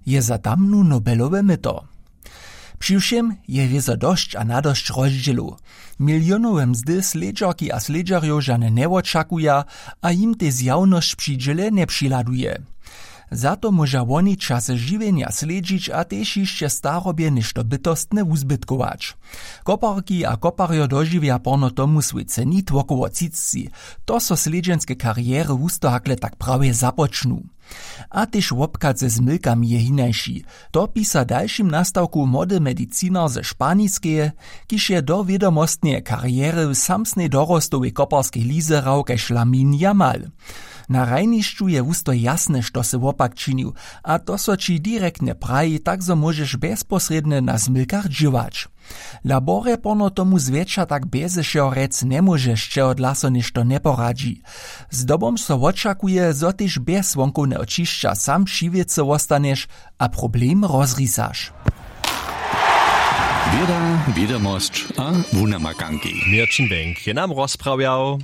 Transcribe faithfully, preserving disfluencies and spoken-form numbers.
Je za tamnu nobelowe myto. Přiwšěm je wězo dosć a nadosć rozdźělow. Milionowe mzdy slědźerki a slědźerjow žane njewočakuja, a jim tež zjawnosć při dźěle njepřihladuje. Za to móža woni časy žiwjenja slědźić a tež hišće starobje něšto bytostne wuzbytkować. Koparki a koparjo dožiwja porno tomu swój cenit wokoło třicci. To so slědźenske karjery wusto hakle tak prawje započnu. A tež wobchad ze zmylkami je hinaši. To pisa w dalšim nastawku młody medicinar ze španiskeje, kiž je do wědomostneje karjery w samsnej dorostowej koparskej lize hrał kaž lamin jamal. Na hrajnišću je wusto jasne što sy wopak činił, a to so ći direktnje praji, tak zo móžeš bjezposrědnje na zmylkach dźěłać. Laborje porno tomu zwjetša tak bjeze wšeho rjec njemóžeš, čehodla so něšto njeporadźi. Zdobom so wočakuje, zo tež bjez wonkowneho ćišća sam při wěcy wostaneš a problem rozrisaš. Wěda, wědomosć a wunamakanki. Měrćin Bank je nam rozprawjał.